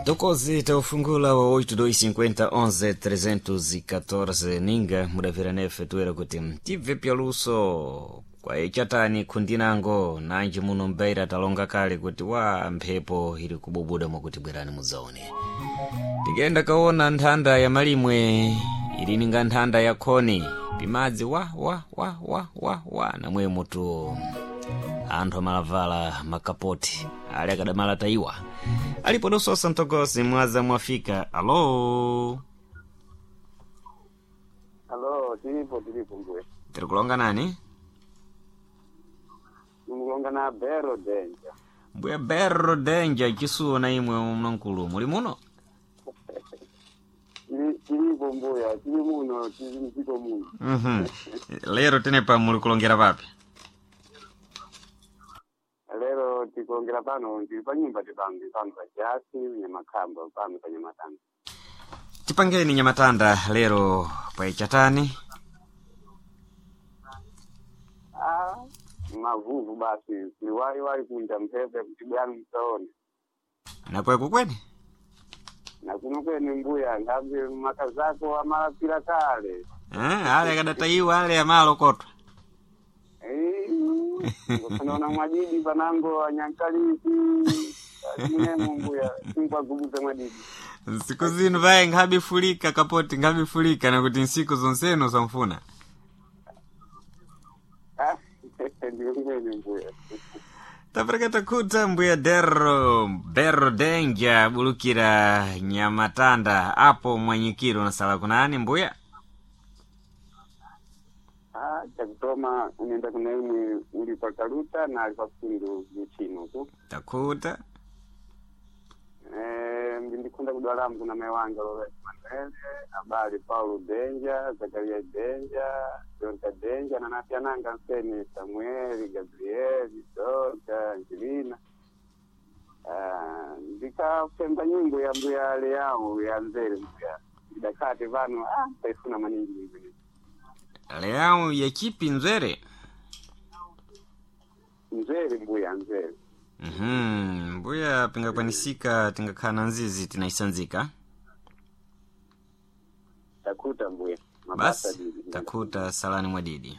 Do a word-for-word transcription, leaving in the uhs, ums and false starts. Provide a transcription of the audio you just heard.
Ntokozi taufungula wa oito dois cinquenta onze trezentos e catorze ninga mudavira nefe tuwera kuti tibve pyaluso kwa ichatani khundinango nanji muno mbeira talonga kale kuti wa mphepo ili kububuda mwakuti bwerani mudzaone. Tikenda kaona nthanda ya malimwe ili ninga nthanda ya khoni pimadzi wa wa wa wa wa wa namwe mutu anthu amalavala makapoti ali akadamala tayiwa alipo dososa mtokosi mwaza mwafika. Alo. Alo, tilipo tilipo mbuye. Tiri kulonga nani? Nikulonga na Bero Denja. Mbuya Bero Denja, chisuwo na imwe mnankulu muli muno? Tili- Tilipo mbuya, tili muno, tili mdziko muno. Mhm. Lero tenepa muli kulongera papi? Lero tikulongera pano, tili pa nyumba tipange pano pa jasi, nyamakhamba pano pa nyamatanda. Tipangeni nyamatanda lero pa ichatani. Ah, mavuvu basi, liwaliwali kunja mphepo kuti bwanu msaone. Nakweko kweni? Na kuno kwene mbuya, nthambi makazako amalapira kale. Eh, ale akadatayiwa ale amalo kotwa. Ngofanaona mwadidi panango anyankalisi, atinemo mbuya, sinkwagubuza mwadidi. Nsiku zinu vaye nkhabifulika kapoti nkhabifulika nakuti nsiku zonseno zamfuna. Ah, ndiyo kwene mbuya. Tapereketa khuta mbuya Dero Bero Denja bulukira nyamatanda apo mwanyikiro nasala kunani mbuya? Ah, chakutoma unaenda kuna imwe uli pa Kaluta na ali pa Fundu mchino ku. Takhuta. Eh, ndikunda kudwalamu kuna mai wanga Lowes Manuel, abali Paulo Denja, Zakaria Denja, Jonta Denja na napyananga nseni Samuel, Gabriel, Dorka, Angelina. Ah, ndikapemba nyimbo ya mbuya leyawo ya nzere mbuya. Ndakati vano ah taifuna maningi nyimbo iyi. Leao ya chipi nzere? Nzere mbuya nzere. Mhm, mbuya pingakwanisika tingakhala na nzizi tinaisanzika. Takuta mbuya. Mabasa Basi didi. takhuta salani mwadidi.